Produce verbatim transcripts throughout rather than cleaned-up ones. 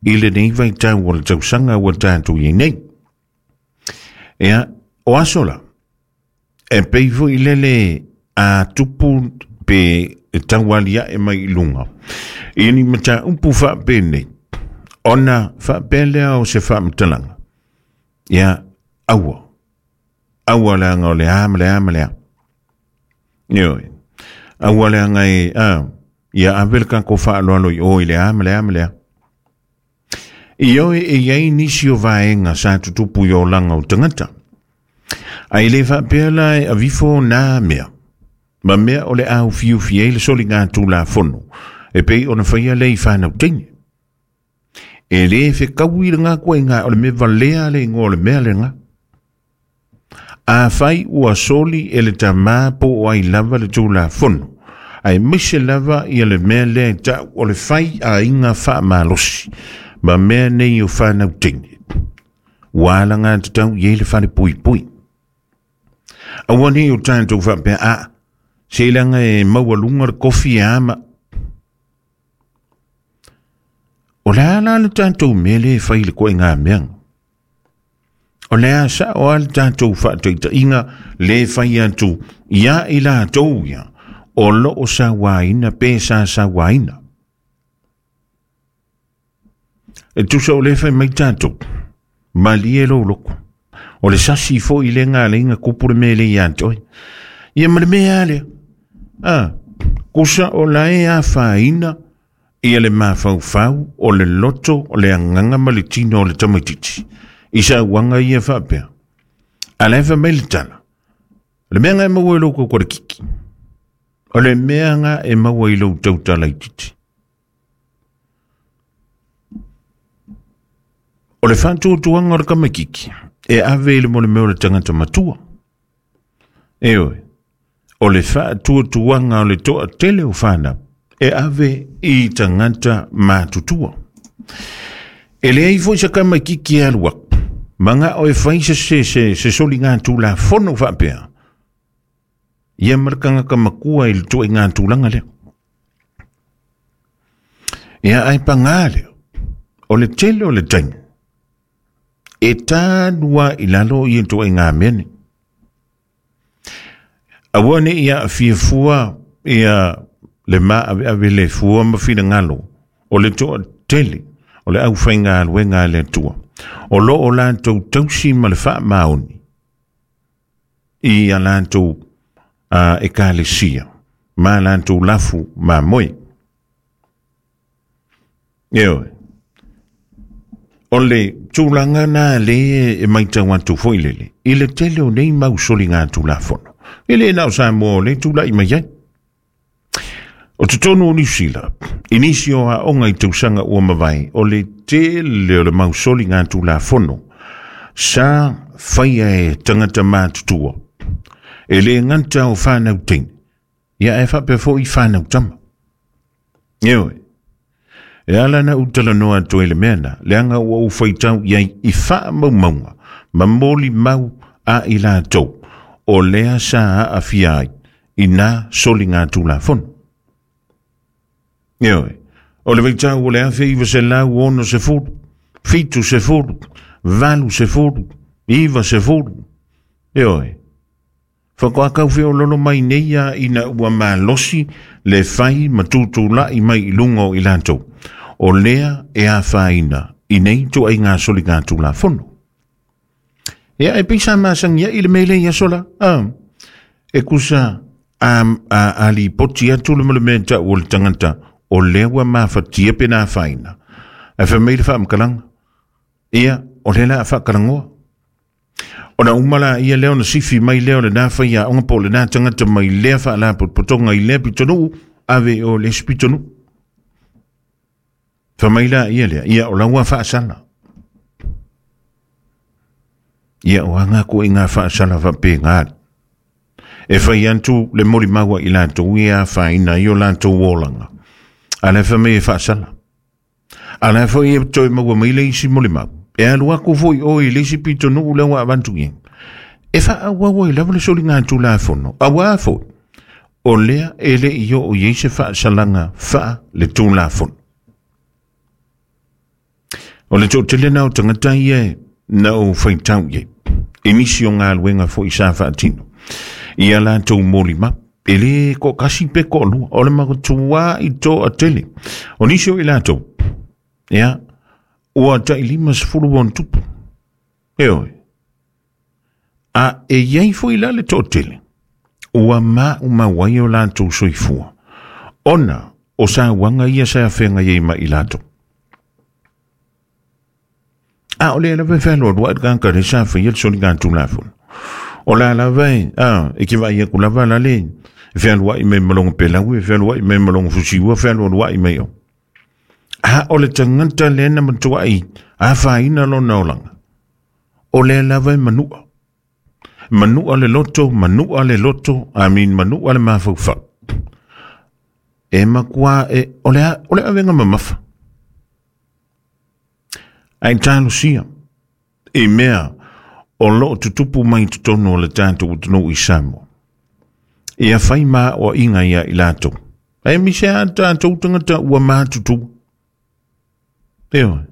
I lenei vaitau o le tausaga ua tatou i ai nei. Ia, o aso la, e pei foi lele a tupu pe e taualiae mai i luga i ni mataupu faapenei, ona faapea lea o se faamatalaga. Ia, aua, aua leaga o le a ma le a ma le a. Ioe, aua leaga e, a, ia ave le tatou faaaloalo i o i le a ma le a ma le a. Ioe, e iai nisi o vaega sa tutupu i olaga o tagata. Ae le faapea la e avifo nā mea, ma mea o le aufiufi ai le soliga tulafono, e pei ona faia le i whanau teine. E le whekaui le ngā koe ngā o le mea valea le ingoa o le mea le ngā. A whai ua soli e le tamā po o ai lava le tulafono, ai mise lava ia le mea lea tau o le whai a inga wha malosi, ma mea nei o whanau teine. Ua ala ngā tatau i le whare pui pui. Aua nei o tātou whapea a, se ilanga e maualunga le kofi e ama. O le ala le tātou mele e whai le koe ngā meanga. O le a sa o ale tātou whaataita inga le whai atu ia i la tau ia o lo o sa waina pe sa sa waina. E tusa o le whai mai tātou, mali e lo loko. O le sasi fo i le ngā le inga kupu le mele i antoi. Ia ma le mea alea. Ah, kusa o la e a whaina ia le mawhauwhau o le loto o le anganga ma le tino o le tamaititi. I sa uanga ia whapea. A le wha mai le tala. Le mea nga e maua i lou kau kore kiki. O le mea nga e maua i lou tautala i titi. O le whantuatuanga o le kamakiki e ave i le mole mea o le tangata matua. E oe, o le whaatuatuanga o le toa tele o whanau e ave i tangata matutua. E le ai foi sa kamakiki e alu aku. Manga o e whai se se se se soli ngā tūla fono whapea. Ia markanga ka makua i le tue ngā tūlanga leo. Ia ai pa ngā leo. O le tele o le taimi. E tānua i lalo i e tue ngā mene. Aua ne ia fia fua ia le maa ave ave le fua ma fina ngalo. O le toa tele. O le au whai ngā alue ngā le atua. O lo o lātou tausi ma le wha maoni. I a lātou uh, e kalesia. Ma lātou lafu ma moe. Eoe. O le tūlanga nā le e maitau atu foi lele. I le tele o nei mausoli ngā tūlafono. E le nao sa mō le tūlai mai ai. O te tonu o Niu Sila, inisi o a onga i tausanga ua mawai, o le tele o le mausoli ngā tūlafono, sa whaia e tangata mātutua. E le nganta o whanau teine, ia e whapea fo i whanau tama. Eoe, e ala na utala noa atu e le mea na, leanga ua u whaitau iai i wha maumaunga, ma moli mau a i lātou, o lea sa a awhia ai, i nā soli ngā tūlafono. Eoe, o le vaitau o le afe iwa se lau ono se furu, fitu se furu, valu se furu, iwa se furu. Eoe, whakoakau whio lolo mai neia ina ua malosi le whai matutulai mai i lunga o i lātou. O lea e a whaina i nei tua i ngā soli ngā tūlafono. Ea e pisa masangia i le mele ia sola. Ah, e kusa a, a, ali poti atu le mele mea tau o le tangata o lea ua mawhatia pe nā whaina. E whamei le whaamkalanga. Ia, o le la a whaakalangoa. O na umala ia leo na sifi mai leo le nā whai a onga po le nā tangata mai lea whaala pototonga i lea pitonu, ave o le spitonu. Whamei la ia lea, ia o laua whaasala. Ia o anga ko i ngā whaasala whape ngā. E whai antu le mori maua i lātou ia whaina i o lātou olanga. A le whamei e whaasala. A le whai e toi maua mai le isi mori mau. E alu aku foi o i le isi pitonu u lewa avantu i. E wha awawa i lawa le soli ngā tūlafono. Awa foi. O lea e le i o i se whaasalanga wha le tūlafono. O le toʻatele na o tagata ia na ou faitau i ai i nisi o galuega foʻi sa faatino ia latou molima e lē koʻakasi pe koʻalua o le matuā i toʻatele o nisi o i latou ia ua taʻilima sefulu ona tupu e oe a e iai foʻi la le toʻatele ua maʻumau ai o latou soifua ona o sauaga ia sa afeagai ai ma i latou. A o lea lava e fealoaloaʻi le tagata lea sa faia le soligatulafono o la lava e a e kevaʻai aku lava la le fealuaʻi mai ma logo pelau e fealuaʻi mai ma logo fusiua fealualuaʻi mai o a o le tagata lea na matuaʻi afaina lona olaga o lea lava e manuʻa manuʻa le loto manuʻa le loto amin manuʻa le mafaufau e makuā e o le o le avega mamafa ai talosia i mea o loo tutupu mai totonu o le tatou atunuu i Samoa. Ia fai maoaʻiga ia i latou. Ae mise a tatou tagata ua matutu. Ioe.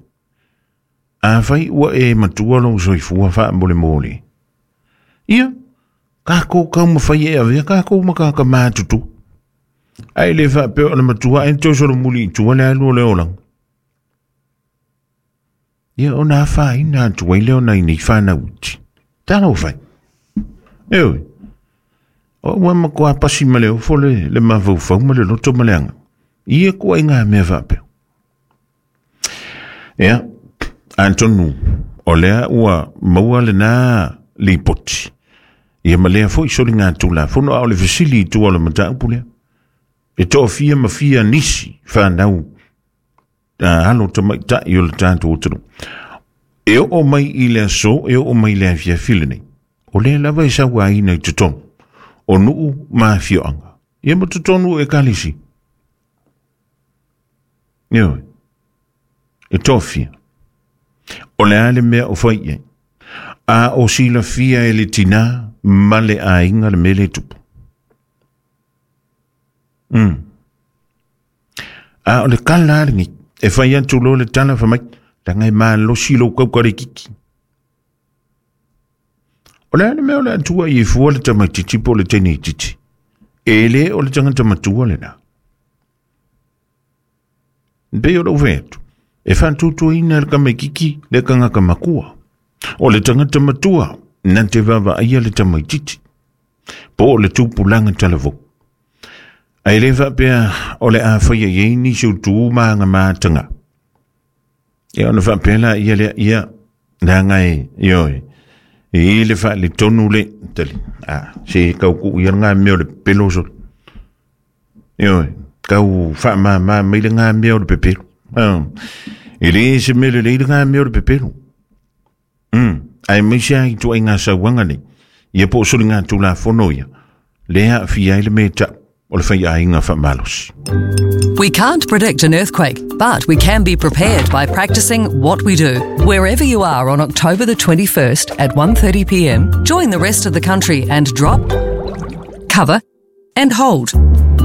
Afai ua e matua lou soifua faamolemole. Ia, kākou kaumafai e avea kākou ma kāka matutu. Ae le faapea o le matua e toe solomuli i tua le alu o le olaga. Ia ona afaina atu ai lea ona i nei whanau iti. Talo fai. Eoi. O ua makuā pasi ma le ofo le, le mafaufau ma le loto ma le aga. Ia kua i ngā mea faapea. Ia, atonu, o lea ua maua lena lipoti. Ia ma lea foʻi soligatulafono a o le fesili i tua o le mataupu lea. E toʻafia ma fia nisi whanau alo tamaitaʻi o le tatou atunuu. E oo mai i le aso, e oo mai le afiafi lenei. O lea lava e sauaina i totonu o nuu ma afioaga. Ia ma totonu o ekalesi. Ioe. E toʻafia. O le a le mea o fai i ai. A o silafia e le tinā ma le aiga le mea le tupu. Mm. A o le kala a lenei. E fai atu loa le tala faamai, leaga e malosi lou kauka le kiki. O le a le mea o le atua i e fua le tamaitiiti po o le teineitiiti. E lē o le tagata matua lenā. Pei o lou fai atu, e faatuatuaina e le tamaikiki le tagata makua. O le tagata matua na te vaavaaia le tamaitiiti po o le tupulaga talavou. Ae lē faapea o le a faia i ai nisi o tu ma aga mataga. Ia ona faapea la ia lea ia leaga e ioe e i le faaletonu le tali. A se kaukuu ia le mea o le pepelo solo. Ioe kau faamāmā mai le mea o le pepelo. E lē se mea lelei le mea o le pepelo. Mm. Ae maise a i tuaiga sauaga nei. Ia po o soligatulafono ia. Lea aafia ai le mea taʻu o le faiaiga faamalosi. We can't predict an earthquake, but we can be prepared by practicing what we do. Wherever you are on October the twenty-first at one thirty p m, join the rest of the country and drop, cover and hold.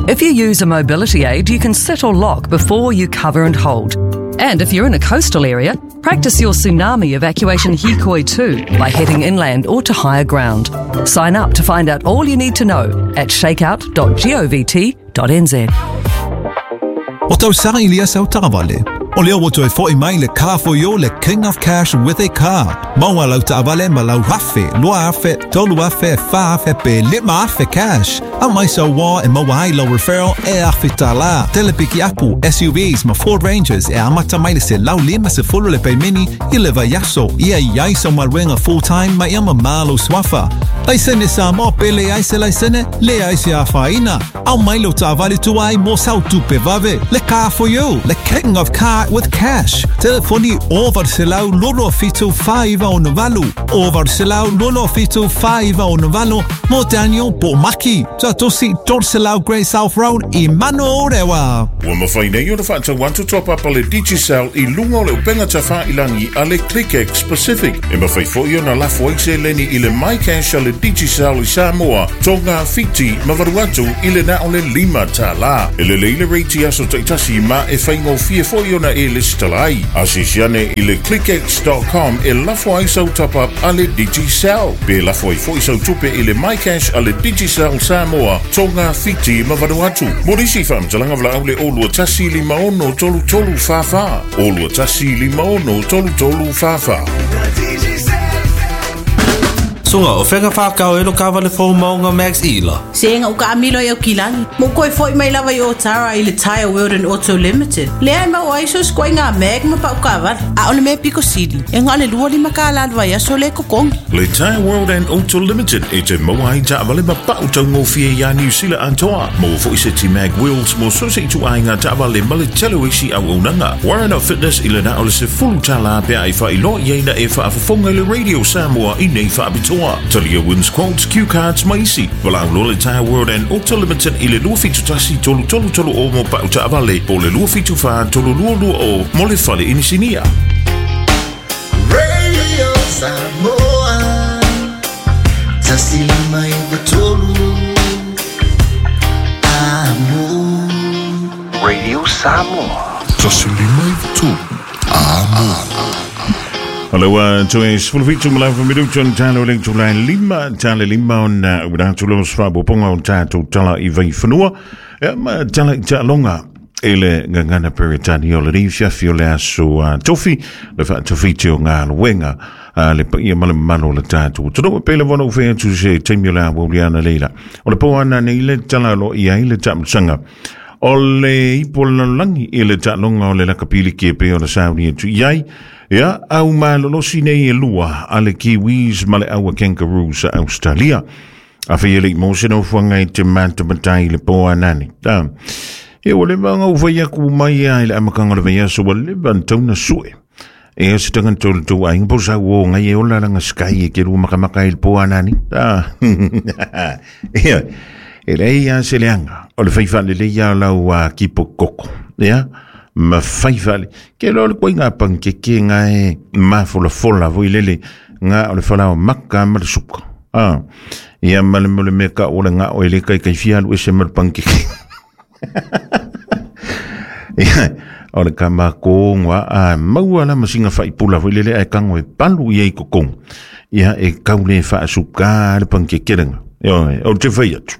If you use a mobility aid, you can sit or lock before you cover and hold. And if you're in a coastal area, practice your tsunami evacuation hikoi too by heading inland or to higher ground. Sign up to find out all you need to know at shakeout dot govt dot n z. O tausaga i lia sau taavale. O lea ua toe foʻi mai le Car for You, le King of Cash with a car. Maua lau taavale ma lau afe, lua afe, tolu afe, fa afe pe lima afe cash. Au mai sau wā e maua ai lau referral e afe tālā. Telepiki apu, S U Vs ma Ford Rangers e amata mai le se lau lima se fulu le peimini i le vaiaso. Ia iai sau maluega full time ma ia mamalo swafa. Laisene Samoa pe le ai se laisene, le ai se afaina. Au mai lau taavale tuai mo sau tupe vave. Le Car for You, le King of Car with cash. Telefoni over selau lolo fitu faiva o navalu. Over selau lolo fitu faiva o navalu. Mo Daniel Bomaki. Satosi Dorselau Great South Road i Manorewa. Ua mafai nei ona faatau atu toapapa le Digicel i luga o le upega tafailagi a le ClickX Pacific. E mafai foʻi ona lafo ai seleni i le MyCash a le Digicel i Samoa, Tonga, Fiti ma Vanuatu i le na o le lima tālā. E lelei le reiti aso taʻitasi ma e faigofie foʻi ona e listala ai. Asisi ane i le click x dot com e lafo ai sau top-up a le Digicel. Pe lafo ai foi sau tupe i le MyCash a le Digicel Samoa, Tonga, Fiti ma Vanuatu. Morisi whaamtalanga vla au le olua tasi lima ono tolu tolu wha wha. Olua tasi lima ono tolu tolu wha wha. Sunga o whenga whakau e lo kawale fō maunga Max Ila. Senga uka amilo i au kilangi. Mo koe foi mai lava i o tara i le Tire World and Auto Limited. Lea mau aiso skoe ngā mag ma pau kawale. A ole me piko sili. E ngā le lua lima ka lan vai aso le kokongi. Le Tire World and Auto Limited e te maua ai taavale ma pau taungofie ia New Zealand antoa. Mo foi se ti mag wheels mo so se itu ai ngā taavale ma le tele isi au unanga. Warren Fitness i le na o le se fulu tala pea i wha ilo ia ina e wha afafonga le Radio Samoa i nei wha abitoa. Talia wins quotes, cue cards, maisi. Walau lo le Tire World and Auto Limited i le lua fitu tasi tolu tolu tolu o mo pau taavale po le lua fitu wha tolu lua lua o mo le fale inisinia. Radio Samoa Tasi lima iwa tolu Amo. Radio Samoa Tasi lima iwa tolu Amo. Aloha, toe sefulufitu ma le afa minuto ona talo le itulā lima, tale lima ona uina atu lea o se faaopoopoga o tatou tala i vaifanua, ia ma tala i taaloga i le gagana Peretania o lenei fiafi o le aso tofi, le faatofiti o galuega a le paia ma le mamalu o le tatou atunuu. E pei lava ona ou fai atu se taimi o le auauliana leila. O le po ana nei le tala o loo i ai le taamasaga o le ipo o le lalolagi i le taaloga o le lakapiliki e pei ona sauni atu i ai. Ia, au malolosi nei e lua a le Kiwis ma le aua Kangaroos a Australia. A whai ele i mose no fuanga i te matamatai le po anani. Ta, e o le vanga u whai aku mai a i le amakanga le vei aso wa le vantauna sue. E a se tangan tolu tau ainga po sa o ngai e ola langa sky e ke rua makamaka i le po anani. Ta, ia, e lei a se leanga o le whaiwha le leia lau a kipo koko. Ia, ma whaiwhale. Ke lo le koe ngā pankeke ngā e mafola fola voi lele ngā o le whalao maka ma le suka. Ah, ia ma le mole mea ka o le ngā o ele kai kai fialu ese ma le pankeke. Ia, o le ka mako ngā a maua la masinga whaipula voi lele ai kango e palu ia i kokong. Ia e kaule whaasuka le pankeke renga. Ia, o te whai atu.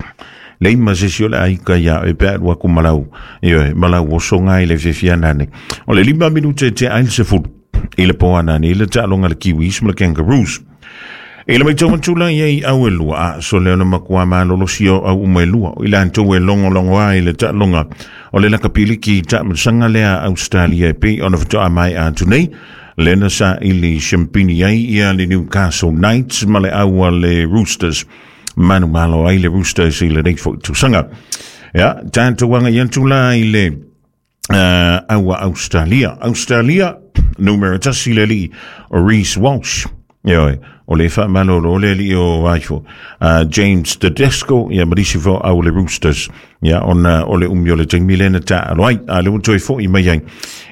Lei ma se si o le aika ia e pea lua ku malau. Ia, malau o songa i le fiafia nane. O le lima minute te ail se fulu. I le poa nane, i le taaloga le Kiwis ma le Kangaroos. I le maitau matula ia i au e lua. A so leo na makua malolosi o au uma e lua. I le antou e longo longo ai le taaloga o le lakapiliki taamasaga lea Australia e pei ona fatoa mai atu nei. Lena sa i le Champini ai ia le Newcastle Knights ma le aua le Roosters. Manu malo ai le Roosters i le nei foi tausaga. Ia, tatou aga i atu la i le uh, aua Australia. Australia, numero tasi le alii o Reece Walsh. Ia, o le faamalolo o le alii o aifo. Uh, James Tedesco, ia marisi fo au le Roosters. Ia, ona o le umi o le taimi lena taalo ai. A le ua toe foi mai ai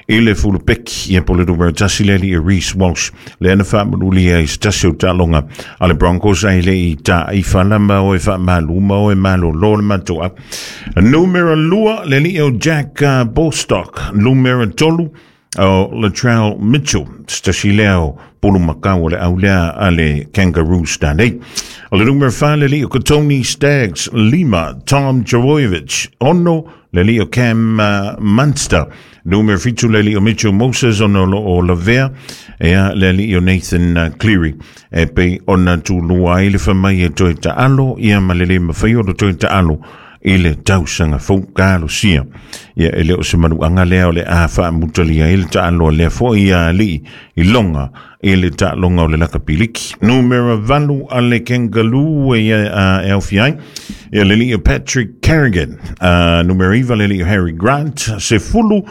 i le fulupeki, ia po le numero tasi le alii o Reece Walsh. Le ana faamanuli ai se tasi o taaloga a le Broncos ai le i taaifa ma o e faamalu ma o e malolo le matoa. Numero lua le alii o Jack uh, Bostock. Numero tolu o Latrell Mitchell, se tasi lea o pulu makau o le au lea a le Kangaroos tanei. O le numero wha le li o Tony Staggs, lima Tom Trbojevic, ono le li o Cam uh, Munster. Numero fitu le li o Mitchell Moses, ono lo o Lavea, ea le li o Nathan uh, Cleary. E pe ona tūlua ai le whamai e toe taalo, ia ma le le mawhai o le toe taalo i le tausaga fou kalosia. Ia e le o se manuaga lea o le a faamutalia i le taaloa lea foi ia alii i loga i le taaloga o le lakapiliki. Numero valu a le Kangaroo e e aufia ai ia le alii o Patrick Carrigan. Uh, numero iva le alii o Harry Grant. Se fulu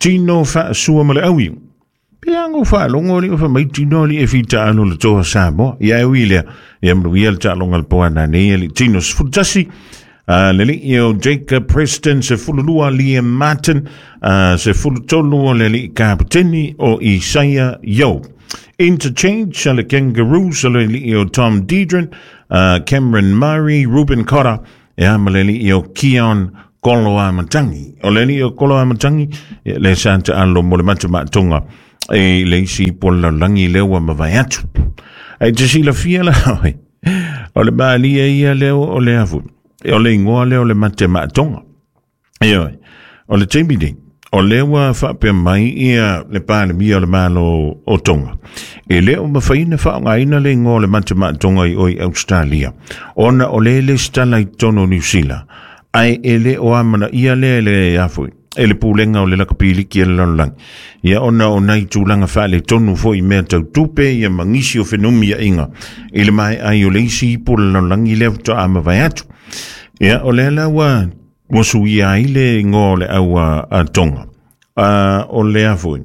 Tino Faasua ma le aui. Pe ango faalogo alii o faamai Tino alii e fitaalo le toa Samoa. Ia e ui lea ia manuia le taaloga le poana nei alii Tino sefulu tasi. Uh, le alii o Jacob Preston, se fululua Liam Martin, uh, se fulutolu o le alii kapiteni o Isaiah Yo. Interchange a le Kangaroos, le alii o Tom Deidrin, uh, Cameron Murray, Ruben Cotter, ea ma le alii o Keon Koloamatangi. O le alii o Koloamatangi, ia le sa taalo mo le matamatonga e le isi po le lalolagi lea ua mavae atu. Ai te silafia la oe, o le maalia ia lea o le afu, o le ingoa lea o le matematonga. Ioe, o le taimi nei, o lea ua faapea mai ia le Palemia o le Malo o Tonga. E le o mafai ona faaaogaina le igoa o le matematonga i oi Australia, ona o le lesitala i totonu o Niu Sila, ae e le o amanaia lea le afu e le pulega o le lakapiliki e le lalolagi. Ia ona o nai tulaga faaletonu foi mea tau tupe ia ma nisi o fenumiaiga i le mae ai o le isi ipu o le lalolagi lea faatoa mavae atu. Ia o lea la ua ua suia ai le igoa o le au a Tonga. Uh, o lea foi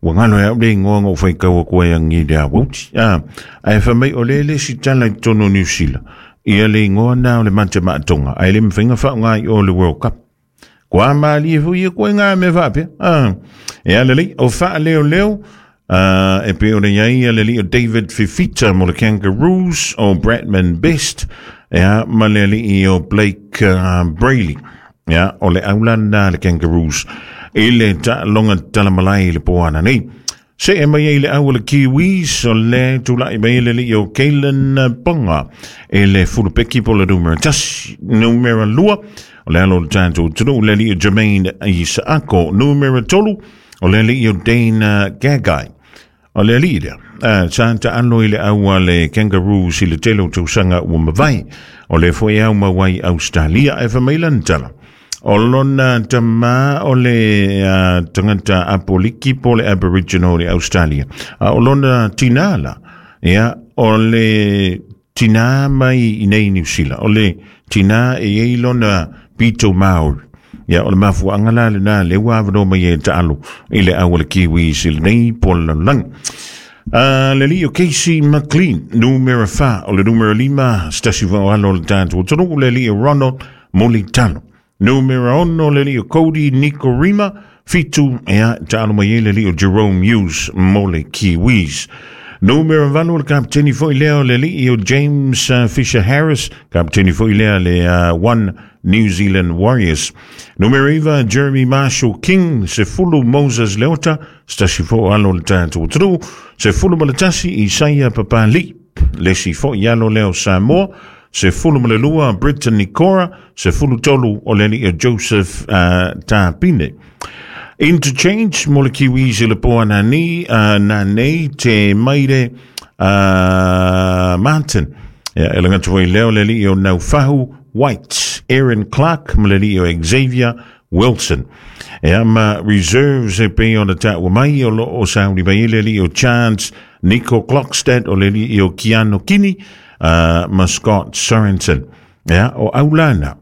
ua galo e au le igoa na ou faitau atu ai agi le auauti. Ah, ae fai mai o lea le sitala i totonu o Niu Sila ia le igoa na o le matematonga, ae le mafai ona faaaoga i o le World Cup. Kua malie foi ia koe ngā me faapea. Ah, e ala lei, o faaleoleo, uh, e pe o le iai ia le alii o David Fifita mo le Kangaroos, o Bradman Best, ia, ma le alii o Blake uh, Brailey. Ia, o le aulana le Kangaroos i le taaloga talamalai i le poana nei. Se e mai ai le au o le Kiwis, o le tulai mai le alii o Kalen Ponga e le fulupeki po le numera tasi, numera lua, o le alo o le tatou atunuu le alii o Jermaine Isaako, numera tolu, o le alii o Dane Gagai. O le alii lea, uh, sa taalo i le au a le Kangaroos i le tele o tausaga ua mavae, o le foi au mauai Australia e fai mai lana tala. O lona tamā o le uh, tagata Apoliki po le Aboriginal le Australia. Uh, o lona tinā la, ia, o le tinā mai i nei Niu Sila. O le tinā e ei lona pito Maori. Ia, o le mafuaanga la lena le ua avanoa mai e taalo i le au o le Kiwis i lenei po le lalolagi. Uh, le alii o Casey McLean, numera fa, o le numera lima, stasi alo o le tatou atunuu, le alii o Ronald Mulitalo. Numera ono, le alii o Cody Nikorima, fitu, ea, taalo mai e le alii o Jerome Hughes mo le Kiwis. Numera valu, le kapiteni foi lea o le alii o James uh, Fisher Harris, kapiteni foi lea le uh, One New Zealand Warriors. Numera iva, Jeremy Marshall King, sefulu Moses Leota, stasi fo alo le tatou atunuu, sefulu ma le tasi Isaia Papali, lesi fo i alo leo Samoa, sefulu ma le lua Briton Nikora, sefulu tolu o le alii o Joseph uh, Tapine. Interchange mo le Kiwis i le poa nani, uh, nanei te maire uh, Martin. Ia, e laga foi leo le alii o Naufahu White, Aaron Clark ma le alii o Xavier Wilson. Ia ma reserves e pei ona taua mai o lo o sauni mai le alii o Chance Nico Klokstad, o le alii o Keano Kini uh, ma Scott Sorensen. Ia, o aulana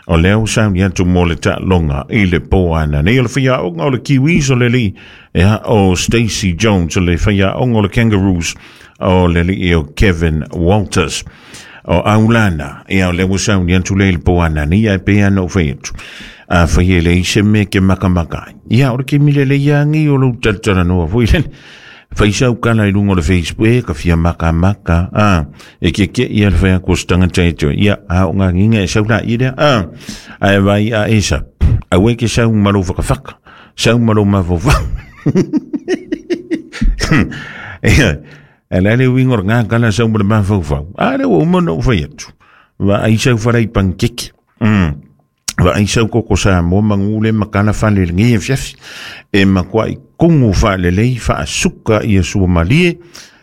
o lea ua sauni atu mo le taaloga i le poana nei. O le faiaoga o le Kiwis o le alii, ia, o Stacey Jones, o le faiaoga o le Kangaroos o le alii o Kevin Walters. O aulana, ia, o lea ua sauni atu le i le poana nei, ae pei ana o fai atu. A fai e le ise me ke makamaka ai. Ia, o le ke mile le iangi o lou talatalanoa foi lele. Fai sau kala i lunga o le Facebook, e ka fia maka maka, ah, e ke ke ia le fai aku o se tagata e toe, ia, a o ngā nginga e sau la i lea, ah, ae vai a esa, aue ke sau malo whakawhaka, sau malo mawhawha. Ia, e la le uinga o ngā kala sau mo le mawhawhau, a le ua uma na o fai atu, wa ai sau wharai pankeke, mm. Wa ai sau koko sa mo mangule makala fale le ngia fiafi, e makua i kongu fa le lei fa asuka ia sua malie,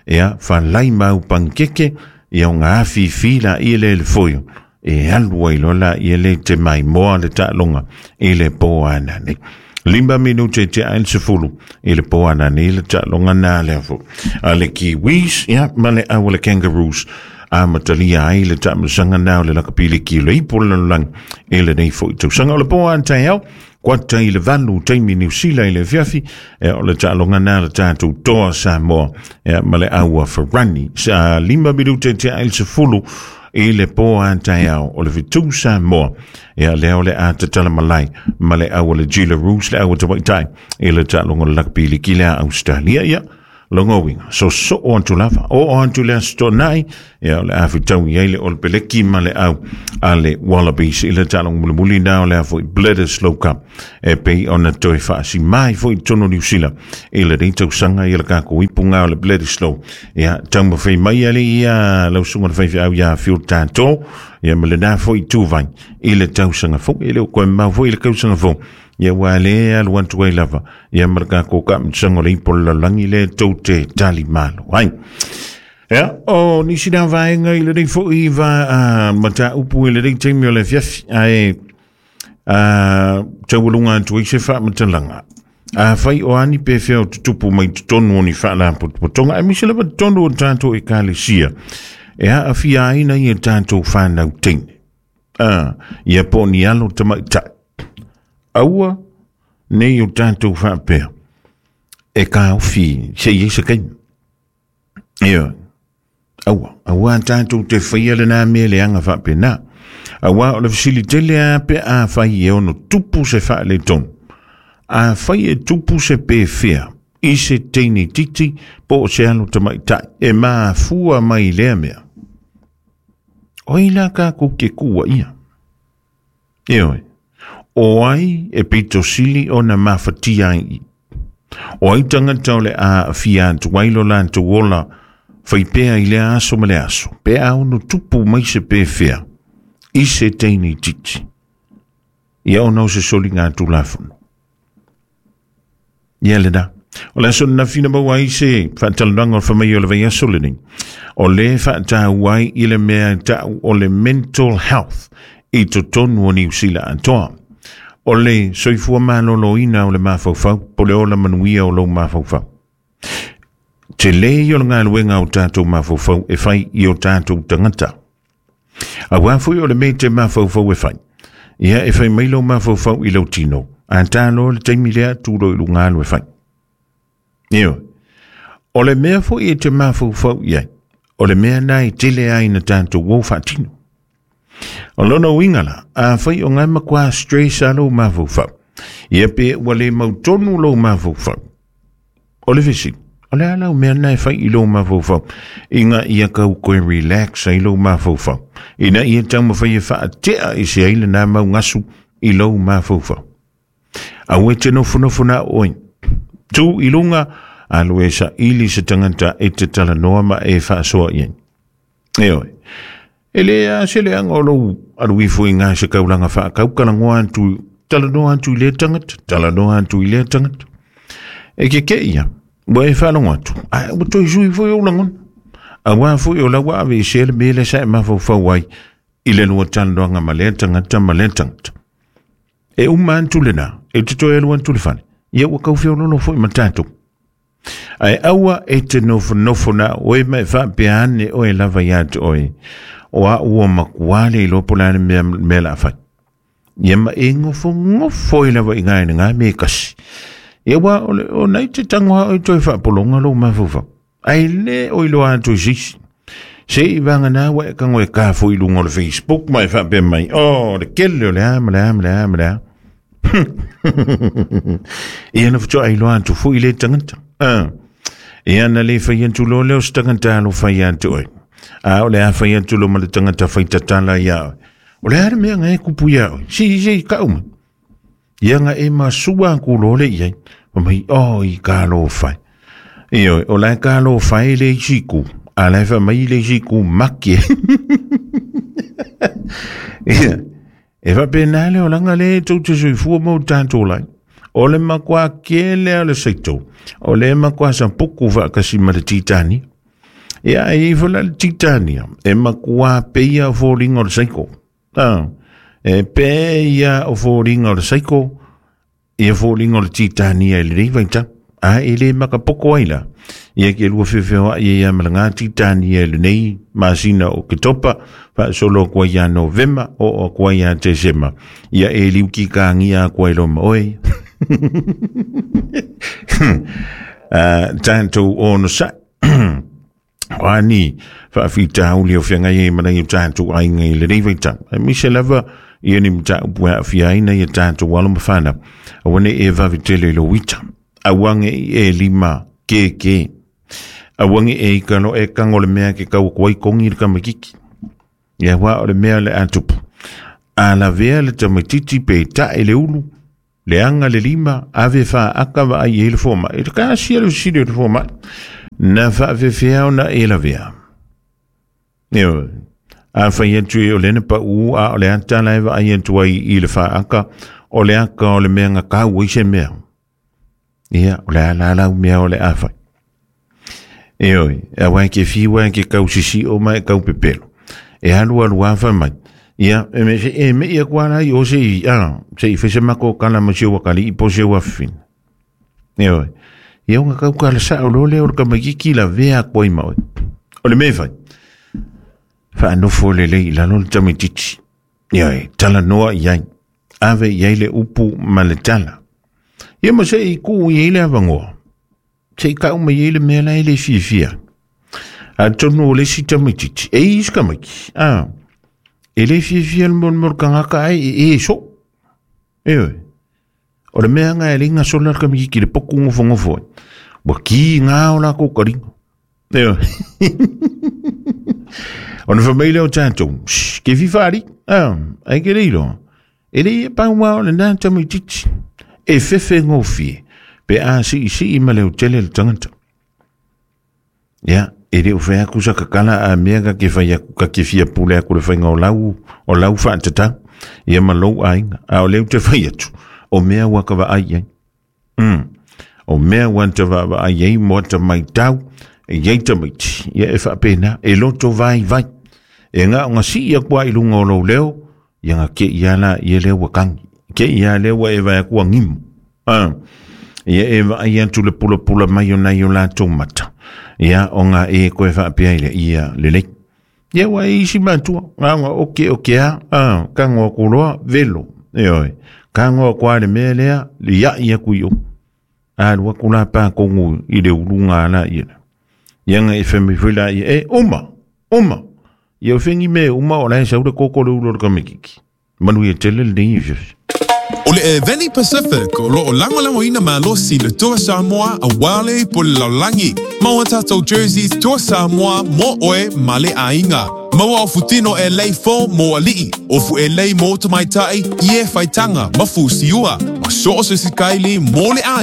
ia fa lai mau pankeke, ia o ngā afi fi la i le le foio. E alu ai lola i le te mai moa le taaloga i le poana nei. Lima minute te ail se fulu i le poana nei le taaloga na le afo. A le Kiwis, ia, ma le au le Kangaroos. A matalia ai le taamilosaga na o le lakapiliki le ipu o le lalolagi i lenei foi tausaga. O le poa taeao, kuata i le valu taimi Niu Sila i le afiafi, e o le taaloga na le tatou toa Samoa, ia, ma le aua Farani. Sa lima minute te ail se fulu i le poa taeao o le fitu Samoa. Ia lea o le a tatala malai ma le aua le Jillaroos, le aua tamaitai i le taaloga o le lakapiliki le a Australia. Ia, Longa winga, so so o antu lava, o o antu le aso nai, ia o le awhitau i eile o le peleki ma le au a le Wallabies i le talong mulimuli nā o le afoi Bledisloe Cup e pei ona toe whaasi mai foi tono Niu Sila i le rei tausanga i le kako ipu ngā o le Bledisloe. Ia taumawhai mai ale ia lausunga le whaiwhi au ia whio tātō, ia ma le nā foi tūvai i le tausanga fo, i le o koe mau foi i le kausanga fo. Ia wa le alu atu ai lava ia marka ko ka mtsango le ipo lalangi le tau te tali malo ai. Ia o nisi na vaenga i le rei foi va uh, mata upu i le rei taimi o le fiafi ai uh, taualunga atu ai se whaamatalaga. A whai o ani pe whia o tutupu mai tonu o ni whaalapotopotonga ai misi lava tonu o tātou e kalesia e haa fia aina i e tātou whanau teine. Uh, ia po ni alo tamaitai. Aua nei o tātou whaapea e ka ofi se i se kai. Ia, aua, aua tātou te whaia le nā mea le anga whaapea nā. Aua o le fisili tele a pe a whai e ono tupu se whaale tonu. A whai e tupu se pe whia i se teine titi po o se alo tamaitai e maafua mai lea mea. Oi la ka ku ke kua ia. Ia oi. O ai e pito sili o na mawhatia i. O ai tangata o le a fia atu wailo la atu ola whaipea i le aso ma le aso. Pe au no tupu mai se pe whia. I se teine titi. Ia o nau se soli ngā tūlafono. Ia le da. O le aso na whina maua ai se whaatalanga o whamai o le vai aso le nei. O le whaatau ai i le mea tau o le mental health i totonu o Niu Sila atoa. O le soifua malolo ina o le mafaufau, po le ola manuia o lou mafaufau. Te le i o le ngāluenga o tātou mafaufau e whai i o tātou tangata. A wā fui o le me te mafaufau e whai. Ia e whai mai lou mafaufau i lau tino. A tālo le teimi lea tūro i lungalu e whai. Io. O le mea fui e te mafaufau iai. O le mea nai tele ai na tātou wau whaatino. O lona uinga la, a whai o ngai makua stress a lou mafaufau. Ia pe ua le mautonu lou mafaufau. O le visi, o le alau mea nai whai i lou mafaufau. Inga ia kau koe relax ai lou mafaufau. Ina ia taumawhai e whaatea i se aile nā mau ngasu i lou mafaufau. A ue te nofonofo nā oi. Tū i lunga, alu e sa ili se tangata e te talanoa ma e whaasoa iai. E oi. E le a se le anga o lou alu ifo i ngā se kaulanga whaakau kalangoa atu, talanoa atu i lea tangata, talanoa atu i lea tangata. E ke ke ia, ua e whalongo atu, a ua toi sui fo i o langon. A wā fo i o laua ave i se le mele sa e mafaufau ai i le lua talanoanga ma lea tangata ma lea tangata. E uma atu le nā, e te toi alu atu le whane, ia ua kauwhiololo fo i matatou. Ai aua e te nofonofo nā oe mai whaapea ane oe lava ia atu oe. O a ua makuale i lopo lane mea, mea la whai. Ia ma e ngofo ngofo i lava i ngai ngā me kasi. Ia wā o, le, o nei te tangoha o i toi whaapolonga lo mafufa. Ai le o i loa atu i sisi. Se i wanga nā wa e kango e kāfo i lunga o le Facebook mai whaapea mai. O, le kele o le a, ma le a, ma le a, ma le a. Ia na whatua ai loa atu fo i le tangata. Ah. Ia na le whai atu lo leo se tangata alo whai atu oi. A o le a whai atu lo ma le tangata whai tatala ia oi. O le ara mea ngai kupu ia oi. Si, si, ka uma. Ia nga e masua ku lo le iai. O mai, o i ka lo whai. Ia oi, o la ka lo whai le isi ku. A la wha mai le isi ku maki. Ia. E whapena le o langa le tau te soifua mau tātou lai. O le makua kele a le seito. O le makua sa puku whaakasi ma le titani. Ia e ifo la le titania. E makua peia o fōringa o le seiko. Ah, e peia o fōringa o le seiko. Ia fōringa o le titania i le reivaita. A e le makapoko ai la. Ia ke lua whiwhewa ia ia mala ngā titania i le nei masina o Ketopa. Whaasolo kua ia Novema o o kua ia Tesema. Ia e liuki ka ngia kua i loma oi. Uh, tātou ono sa Wani whaawhita hauli o whiangai e manai o tātou ainga i le reivaita. E mise lava ia ni mta upu hea whiaina ia tātou alo mawhana. A wane e vawitele lo wita. A wange i e lima ke ke. Awangi e kano e kango le mea ke kau kuai kongi le kamakiki. Ia wā o le mea le atupu. A la vea le tamatiti pe ta e le ulu. Le anga le lima, ave wha aka wa ai e le fōma. E te ka asia le usiri o le fōma. Na wha awhewhea o na e la vea. Eo, a whai atu e o lene pa u a o le atala e wa ai atu ai i le wha aka o le aka o le mea ngā kau i se mea. Ia, o le ala ala mea o le a whai. Eo, a wai ke fiwa ke kau sisi o mai kau pepelo. E alu alu a whai mai. Ia, e me se e me ia kuala i o se i, a, se i whese mako kala ma se wakali i po se wafina. Eo, ia unga kau kala sa o lole o le kamakiki la vea koi maoi. O le me whai. Whaanofo le lei lalo le tamititi. Ia e, tala noa iai. Ave iai le upu ma le tala. Ia ma se i ku i le awangoa. Se i kau ma iai le mea lai le fiafia. A tonu o le si tamititi. E i iskamaki. Ah. E le fiafia le molmol kangaka ai e e so. E oe. O le mea nga e le inga sola le kamikiki le poku ngofo ngofo. Wa ki ngā o la kōkaringa. E oe. O na whamaile o tātou, ke whiwhari, ah, ai ke reiro. E le e pāua o le nā tamititi. E whewhe ngōwhie, pe a si i si i ma leo tele le tangata. Ia, e leo whea kusa kakala a mea ka ke whai aku, ka ke whia pule aku le whainga o lau, o lau whaatatau. Ia ma lou ainga, a o leo te whai atu, o mea waka wa ai ai. Mm. O mea wanta wa wa ai ai, moa ta mai tau, e iei tamaiti, ia e whaapena, e loto vai vai. E ngā o ngā si ia kua i lunga o lou leo, ia ngā ke ia la ia leo wa kangi. Ke ia leo wa e vai akua ngimu. Ah, ia e vai atu le pula pula mai o nei o la tō mata. Ia o ngā e koe whaapea ile ia lelei. Ia wa e isi matua, ngā ngā oke oke a, ah, ka ngā kuloa velo. E oi, ka ngā kua le mea lea, le ia ia kui o. A lua kula pā kongu i le ulunga ala ia. Ia ngā e whemi whila ia, e, uma, uma. Ia o whengi me uma o lai saure koko le ulo le kamikiki. Manu ia tele le nei fiafi. O le Eveni Pacific o loo lango ina malosi le Toa Samoa a wale po le laulangi. Maua tātou jerseys Toa Samoa mo oe ma le ainga. Maua o futino e lei fo mo alii. O fu e lei mo tamaitai i e whaitanga mafu siua. Ma so o se sikaili mo le ainga.